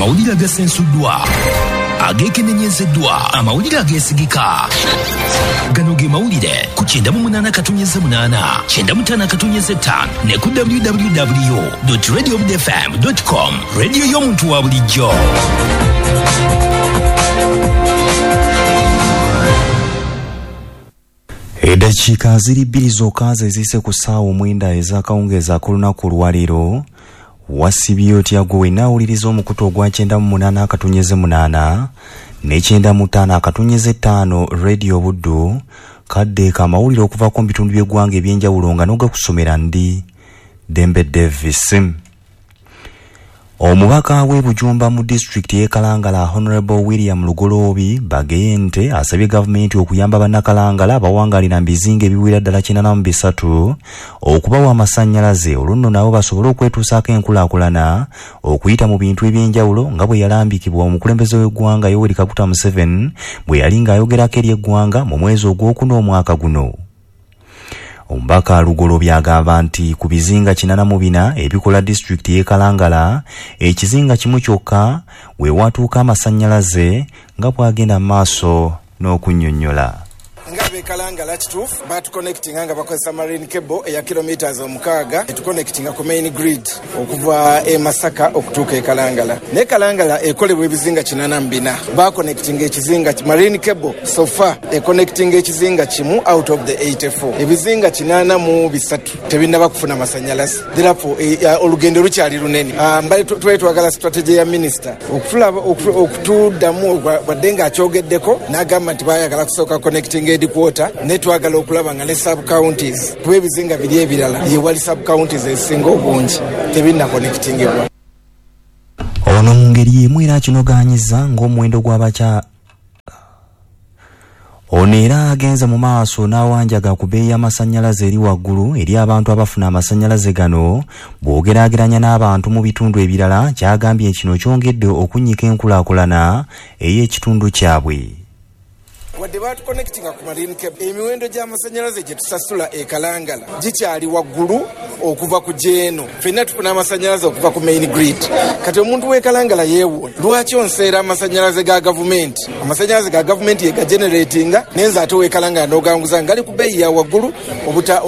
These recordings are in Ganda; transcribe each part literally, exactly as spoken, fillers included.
Amawulire agasensuddwa, ageekenenyezeddwa, amawulire ageesigika. Gano ge mawulire ku kyenda mu munaana katonyeze munaana, kyenda mu ttaano katonyeze ttaano ne ku w w w dot radio f m dot com. Radio y'omuntu wa bulijjo. Eddakiika ziri bbiri zokka ze ziyise ku ssaawa omwenda ez'akawungeezi ak'olunaku olwaleero. Wasibye otya gwe wenna awuliriza omukutu ogwa kyenda mu munaana akatonyeze munaana ne kyenda mu ttaano akatonyeze ttaano Radio Buddu, kadde k'amawulire okuvaako mu bitundu by'eggwanga eby'enjawulo nga n'ogakusomera ndi Dembe Davis. Omubaka w'e Bujumba mu disitulikiti y'e Kalangala Honorable William Lugoloobi Bageyente asabye gavumenti okuyamba bannakalangala abawangalira mu bizinga ebiwera ddala kinaana mu bisatu okubawa amasannyalaze, olwo nno nabo basobole okwetuusaako enkulaakulana okuyita mu bintu eby'enjawulo nga bwe yalambikibwa omukulembeze w'eggwanga Yoweri Kaguta Museveni bwe yali ng'ayogerako eri eggwanga mu mwezi ogwokuna omwaka guno. Omubaka Lugoloobi agamba nti ku bizinga kinaana mu bina ebikola disitulikiti y'e Kalangala, ekizinga kimu kyokka we watuuka amasannyalaze nga bw'agenda mu maaso n'okunnyonnyola. Nga ab'e Kalangala kituufu batuconnectinga nga bakozesa marine cable eya kilometers omukaaga etuconnectinga ku main grid okuva e Masaka okutuuka e Kalangala. Naye Kalangala ekolebwa ebizinga kinaana mu bina, baconnectinga ekizinga marine cable so far econnectinga ekizinga kimu out of the eighty-four. Ebizinga kinaana mu bisatu tebinnaba kufuna masannyalaze, therefore olugendo lukyali lunene. Mbale twali twagala strategy ya minister okutuddamu wadde ng'akyogeddeko n'agamba nti baayagala kusooka connecting quarter, ne twagala okulaba nga ne sub counties kuba ebizinga biri ebirala ye wali sub counties ezisinga obungi tebinna connectingibwa. Ono mu ngeri y'emu era akinogaanyiza ng'omuwendo gw'abakya ono era agenze mu maaso n'awanjaga ku bbeeyi y'amasannyalaze eri waggulu eri abantu abafuna amasannyalaze gano bw'ogeraageranya n'abantu mu bitundu ebirala, kyagambye kino kyongedde okunnyika enkulaakulana ey'ekitundu kyabwe. Wadde batuconnectinga ku marine cable, emiwendo gy'amasannyalaze gye tusasula e Kalangala gikyali waggulu okuva ku gy'eno. Ffenna tufuna amasannyalaze okuva ku main grid. Kati omuntu w'e Kalangala yeewuunya lwaki onseera amasannyalaze ga gavumenti? Amasannyalaze ga gavumenti ye gageneratinga, naye nze ate ow'e Kalangala n'oganguza ngali ku bbeeyi ya waggulu obuta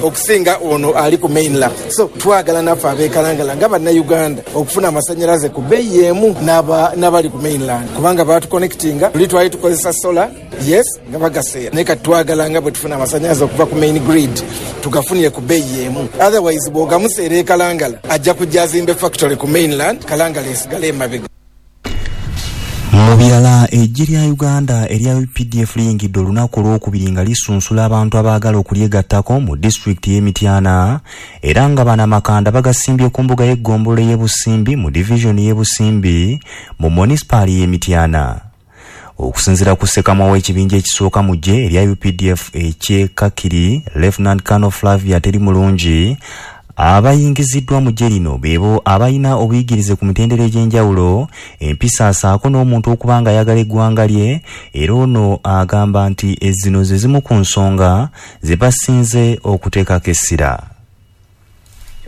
okusinga ono ali ku mainland. So twagala naffe ab'e Kalangala nga bannayuganda okufuna amasannyalaze ku bbeeyi emu n'abali ku mainland, kubanga batuconnectinga luli twali tukozesa solar, yes, nga bagaseera, naye kati twagala nga bwe tufuna amasannyalaze okuva ku main grid tugafunire ku bbeeyi emu. Otherwise bw'ogamuseera e Kalangala ajja kujja azimbe factory ku mainland, Kalangala esigale emabega. Mu birala, eggye lya Uganda erya U P D F liyingidde olunaku olwokubiri nga lisunsula abantu abaagala okulyegattako mu disitulikiti y'e Mityana, era nga bano amakanda bagasimbye ku mbuga y'eggombolola y'e Busimbi mu divizoni y'e Busimbi mu munisipaali y'e Mityana. Okusinziira ku ssekamwa w'ekibinja ekisooka mu ggye erya U P D F eky'e Kakiri, Lieutenant Colonel Flavia Teri Mulungi, abayingiziddwa mu ggye lino beebo abalina obuyigirize ku mitendera egy'enjawulo, empisa asaako n'omuntu okuba nga ayagala eggwanga lye, era ono agamba nti zino ze zimu ku nsonga ze basinze okuteekako essira.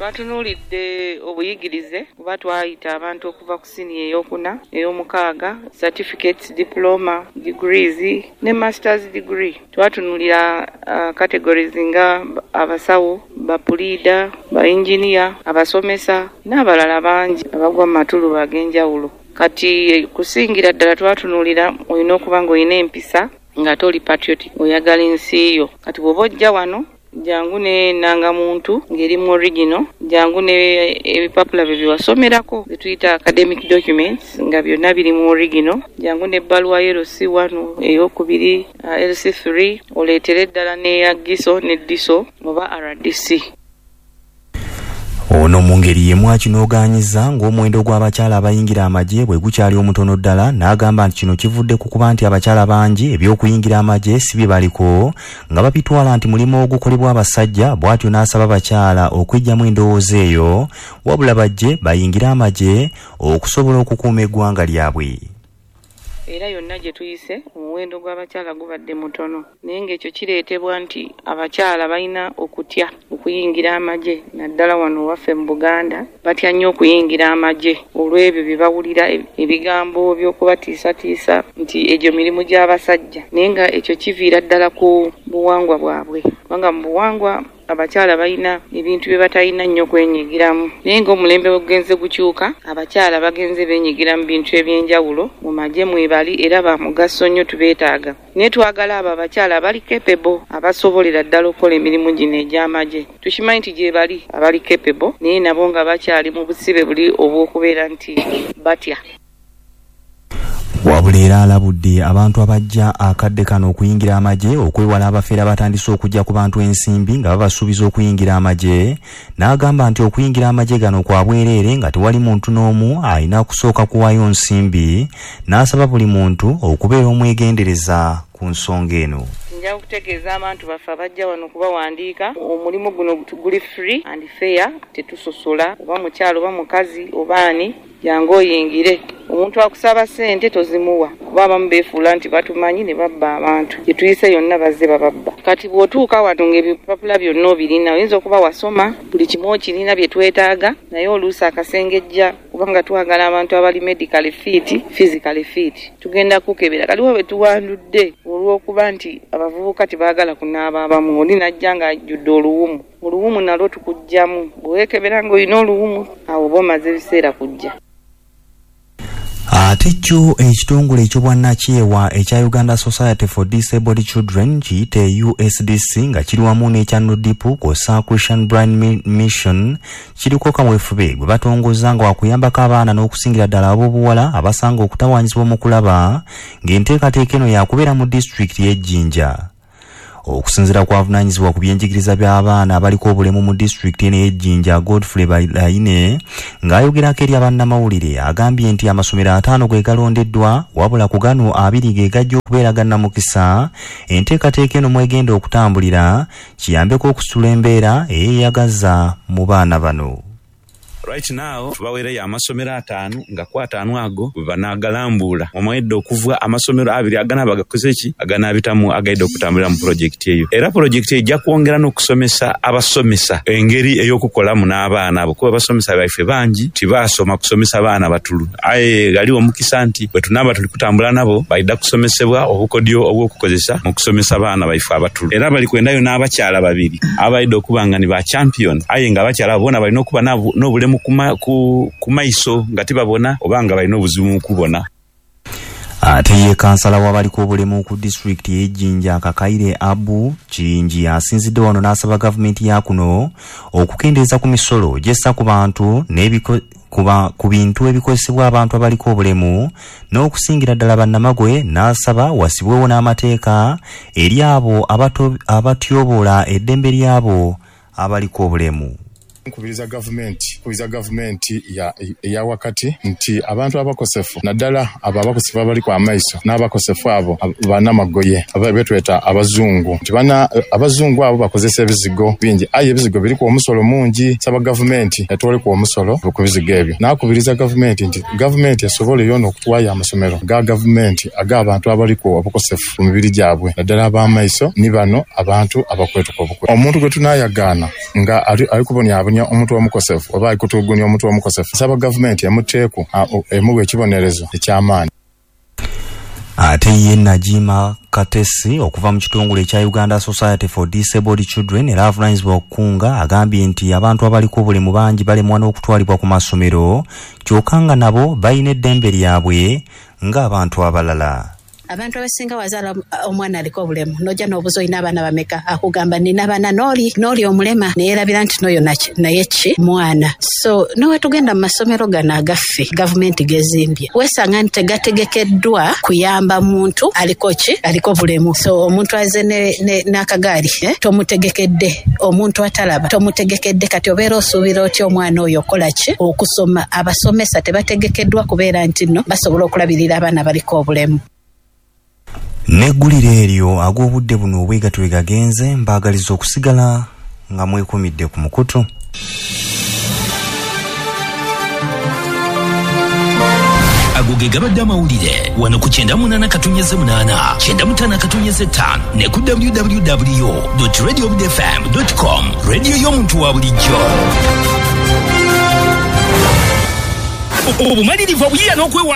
Twatunuulidde obuyigirize kuba twayita abantu okuva ku siniya ey'okuna, ey'omukaaga, certificates, diploma, degrees ne masters degree. Twatunuulira uh, categories nga abasawo, bapuliida, ba engineer, abasomesa n'abalala bangi abagwa mu matuluba ag'enjawulo. Kati kusingira ddala twatunuulira olina okuba ng'olina empisa ng'ate oli patriotic, oyagala ensi yo. Kati bw'oba ojja wano jangu ne nangamuntu ng'eri mu original, jangu ne ebipapula bye byewasomerako bye tuyita academic documents nga byonna biri mu original, jangu n'ebbaluwa ya L C one ey'okubiri, L C three, oleetere ddala n'eya G I S O ne D I S O oba R D C. Ono mu ngeri y'emu akinogaanyiza ng'omuwendo gw'abakyala abayingira amagye bwe gukyali omutono ddala, n'agamba nti kino kivudde ku kuba nti abakyala bangi eby'okuyingira amagye si bye baliko nga babitwala nti mulimu ogukolebwa abasajja, bw'atyo n'asaba abakyala okweggyamu endowooza eyo wabula bajje bayingire amagye okusobola okukuuma eggwanga lyabwe. Era yonna gye tuyise omuwendo gw'abakyala gubadde mutono, naye ng'ekyo kireetebwa nti abakyala balina okutya okuyingira amagye, naddala wano waffe mu Buganda batya nnyo okuyingira amagye olw'ebyo bye bawulira, ebigambo by'okubatiisatiisa nti egyo mirimu gy'abasajja, naye nga ekyo kiviira ddala ku buwangwa bwabwe, kubanga mu buwangwa abakyala balina ebintu bye batalina nnyo kwenyigiramu. Naye ng'omulembe gugenze gukyuka, abakyala bagenze beenyigira mu bintu eby'enjawulo, mu magye mwebali era ba mugaso nnyo, tubeetaaga. Naye twagala abo abakyala abali capable, abasobolera ddala okukola emirimu gino egy'amagye. Tukimanyi nti gye bali abali capable, naye nabo nga bakyali mu busibe buli obw'okubeera nti batya. Wabula era alabudde abantu abajja akadde kano okuyingira amagye okwewala abafeera batandise okujja ku bantu ensimbi nga babasuubiza okuyingira amagye, n'agamba nti okuyingira amagye gano kwa bwereere nga tewali muntu n'omu alina kusooka kuwaayo nsimbi, n'asaba buli muntu okubeera omwegendereza ku nsonga eno. Nja okutegeeza abantu baffe abajja wano kubawandiika, omulimu guno guli free and fair, tetusosola oba mukyalo oba mukazi oba ani, jangu oyingire. Omuntu akusaba ssente tozimuwa, kuba abamu beefuula nti batumanyi ne babba abantu. Gye tuyise yonna bazze bababba. Kati bw'otuuka wano ng'ebipapula byonna obirina, oyinza okuba wasoma buli kimu okirina bye twetaaga, naye oluusi akasengejja, kubanga twagala abantu abali medically fit, physically fit. Tugenda kukebera. Kaliwo bwe tuwandudde olw'okuba nti abavubuka tebaagala kunaaba abamu, oli n'ajja ng'ajjudde oluwumu. Oluwumu nalwo tukuggyamu, bwe weekebera ng'olina oluwumu, awo oba omaze ebiseera kujja. Ate kyo ekitongole eky'obwannakyewa ekya Uganda Society for Disabled Children kiyite U S D C nga kiri wamu n'ekya NODIPU kw'ossa Christian Blind Mission kiriko kaweefube gwe batongoza nga wakuyambako abaana n'okusingira ddala ab'obuwala abasanga okutawaanyizibwa mu kulaba, ng'enteekateeka eno yakubeera mu disitulikiti y'e Jinja. Okusinziira ku avunaanyizibwa ku byenjigiriza by'abaana abaliko obulemu mu disitulikiti eno ey'e Jinja, Godfrey Baine, ng'ayogerako eri abannamawulire agambye nti amasomero ataano ge galondeddwa, wabula ku gano abiri ge gajja okubeera gannamukisa. Enteekateeka eno mwegenda okutambulira kiyambeko okusitula embeera eyeeyagaza mu baana bano. Right now tubaweereyo amasomero ataano nga ku ataano ago bwe banaagalambula omwedde okuva amasomero abiri aganaaba gakoze ki aganaabitamu agaidde okutambulira mu pulojekiti eyo. Era pulojekiti ejja kwongera n'okusomesa abasomesa engeri ey'okukolamu n'abaana abo, kuba abasomesa baife bangi tibaasoma kusomesa baana batulu, aye galiwo omukisa nti bwe tunaaba tuli kutambula nabo baidda kusomesebwa obukodyo obw'okukozesa mu kusomesa baana baife abatulu. Era bali kwendayo n'abakyala babiri abaidde okuba nga ni ba champion, aye nga abakyala abo bona balina okuba n'obulemu kuma, ku, ku maiso nga tibabona oba nga balina obuzibu mu kubona. Ate ye kansala w'abaliko obulemu ku disitulikiti y'e Jinja Kakaire Abu Kiyingi asinzidde wano n'asaba gavumenti ya kuno okukendeeza ku misolo gy'essa ku bantu n'ebiko ku bintu ebikozesebwa abantu abaliko obulemu n'okusingira ddala bannamagwe, n'asaba wasibwewo n'amateeka eri abo abatyoboola eddembe ly'abo abaliko obulemu. Nkubiriza gavumenti kubiriza gavumenti ya ya wakati nti abantu abakosefu naddala abo abakosefu abaliko amaiso n'abakosefu abo bannamagoye abetweta abazungu nti bana abazungu abo bakozesa ebizigo bingi, aye ebizigo biriko omusolo mungi. Saba gavumenti etwoleko omusolo ku bizigo ebyo. Nakubiriza gavumenti nti gavumenti esobole yona okutwaya amasomero ga gavumenti ag'abantu abaliko abakosefu ku mibiri gyabwe naddala ab'amaiso ni bano abantu abakwetuka obukwe. Omuntu gwe tunayagaana nga ali, ali kubonyabonya omuntu omukosefu oba alikutugunya omuntu omukosefu, saba gavumenti emuteeku emuwe ekibonerezo eky'amaanyi. Ate ye Najima Katesi okuva mu kitongole ekya Uganda Society for Disabled Children era avunaanyizibwa okukunga agambye nti abantu abaliko obulemu bangi balemwa n'okutwalibwa ku masomero, kyokka nga nabo balina eddembe lyabwe ng'abantu abalala. Abantu abasinga wazaala omwana aliko obulemu nojja n'obuuza olina abaana bameka, akugamba nina abaana n'oli n'oli omulema, neyeerabira nti n'oyo naye ki mwana. So nowetugenda mu masomero gano agaffe gavumenti gezimbye weesanga nti tegategekeddwa kuyamba muntu aliko ki aliko bulemu. So omuntu aze n'akagaali eh, tomutegekedde, omuntu atalaba tomutegekedde, kati obeera osuubira otya omwana oyo okola ki okusoma? Abasomesa tebategekeddwa kubeera nti nno basobola okulabirira abaana baliko obulemu. N'eggulire eryo ag'obudde buno obwegatwe gagenze, mbaagaliza okusigala nga mwekumidde ku mukutu. Ago ge gabadde amawulire wano ku kyenda munaana katunyeze munaana kyenda mutaano katunyeze ttaano ne ku w w w radio f m com. Radio y'omuntu wa bulijjo. Obumalirivu, obuyiiya n'okwewaayo.